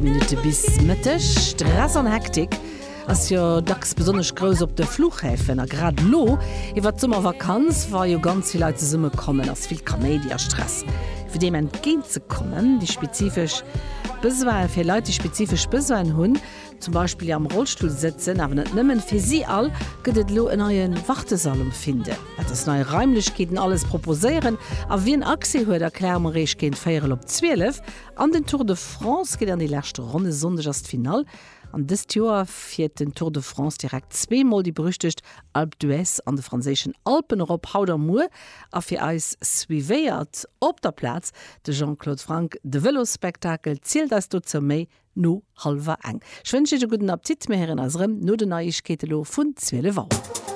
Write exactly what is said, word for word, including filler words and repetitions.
Minutte bis Mëtteg. Stress an Hektik ass jo dacks besonnesch grouss op de Fluchhäfen. A grad elo iwwer d'Summervakanz, wa jo ganz vill Leit zesumme kommen, ass vill Kaméidi a Stress. Fir deem entgéint ze kommen, déi spezifesch Besoine fir Leit, déi spezifesch Besoinen hunn, zum Beispill déi am Rollstull sëtzen, awer net nëmmen, fir si all gëtt et elo en neie Wartesall um Findel. Wat dës nei Raimlechkeeten alles proposéieren a wien Accès huet, erkläre mer Iech géint véierel op zwielef. An den Tour de France geet an déi lescht Ronn, e Sonndeg ass d'Finall. An dëst Joer fiert den Tour de France direkt zwee Mol déi berüchtegt Alpe d'Huez an de franséischen Alpen erop, haut a muer. A fir eis suivéiert op der Plaz de Jean-Claude Franck de Vëlosspektakel, zielt eis dozou méi no hallwer eng. Ech wënschen Iech e gudden Appetit, mir héieren eis erëm no den Neiegkeete lo vun zwielef Auer.